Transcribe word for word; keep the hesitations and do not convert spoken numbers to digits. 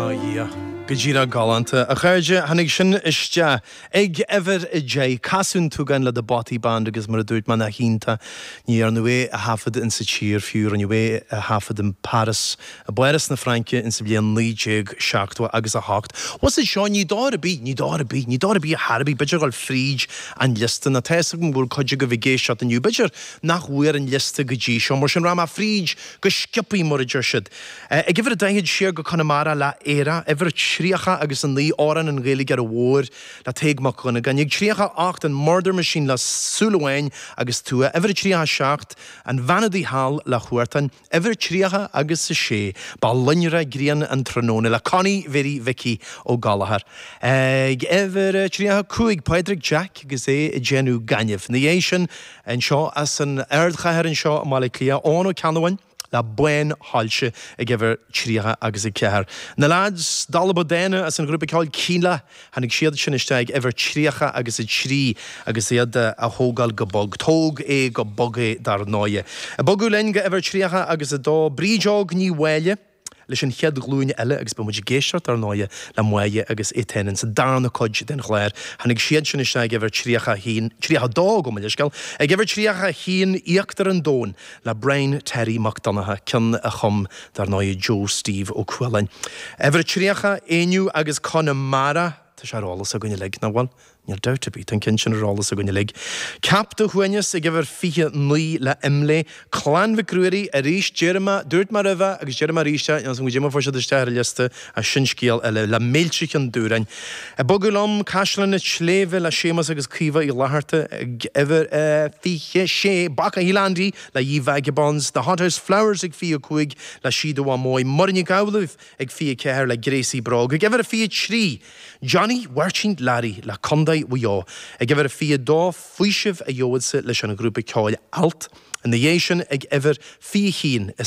A Dhia. Go díreach galánta. A chairde, tháinig sin isteach ag uimhir a deich, Casadh an tSúgáin le The Bothy Band agus mar a dúirt mé nach iontach ní dhearnadh é a thaifead in sa tír fiú rinneadh é a thaifead in Paris, i bPáras na Fraince in sa bhliain naoi déag seachtó agus a hocht. Was seo ní dóir a bí, ní dóir a bí, ní dóir a bí a Harbí, b'fhéidir dul fríd an liosta na tá go bhfuil cuid agaibh ag éisteacht inniu, b'fhéidir nach bhfuair an liosta go dtí seo, mar sin rachaidh mé fríd go sciobtha mar a deir siad. Ag uimhir a daichead siar go Conamara le Éire, uimhir tríocha agus a naoi amhrán an Ghaeilgeora Mhóir le Tadhg Mac Dhonnagáin. Ag tríocha ocht an Murder Machine le Súil Amháin agus Tua, uimhir tríocha seacht an Bhean Udaí Thall le Huartan, uimhir tríocha agus a sé Ba loinnre grian an tráthnóna le Connie Mhéirí Mhicí Ó Gallchóir. Ag uimhir tríocha cúig Pádraig Jack agus é ag déanamh gainimh. Ina dhiaidh sin anseo as an ardchathair anseo i mBaile Átha Cliath Eoin Ó Ceannabháin, le Bánshoilse ag uimhir tríocha agus a ceathair. Na lads Dalba Dána as an ghrúpa ceoil Kíla tháinig siad sin isteach ag uimhir tríocha agus a trí agus iad a thógáil go bog. Tóg é go bog é dar ndóigh. Ag bogadh linn go uimhir tríocha agus a dó Brídeog Ní Mháille. leis an chéad ghlúin eile agus beidh muid ag éisteacht ar ndóigh le Máire agus Étain sa darna cuid den chlár. Tháinig siad sin isteach ag uimhir tríocha haon tríocha dó gabh mo leithscéal, ag uimhir tríocha haon Íochtar an Domhain le Brian Terry Mac Donncha ceann a chum dar ndóigh Joe Steve Ó Cualáin. Uimhir tríocha Éinniú agus Conamara Tá sé ar eolas againn uilig nach bhfuil. Níl dabht ar bith an ceann sin ar eolas againn uilig. Ceap do shuaimhneas ag uimhir fiche naoi le Imlé, Clann Mhic Ruairí arís deir mé dúirt mé roimhe agus deir mé arís é go dtí fuair siad isteach ar an liosta a sin scéal eile le Mílte Ceann Dúráin. Ag bogadh liom Caisleán na Sléibhe le Séamus agus Caoimhe Uí Fhlatharta ag uimhir fiche sé Baca Hilandí le Ye Vagabonds, The Hothouse Flowers ag fiche cúig le Síoda Mhaimó Muireann Nic Amhlaoibh ag fiche ceathair le Gracie Bróg, ag uimhir fiche trí Johnny Mháirtín Learaí le Contae Mhaigh Eo, ag uimhir fiche dó Faoiseamh a gheobhadsa leis an ghrúpa ceoil Alt, ina dhiaidh sin ag uimhir fiche haon is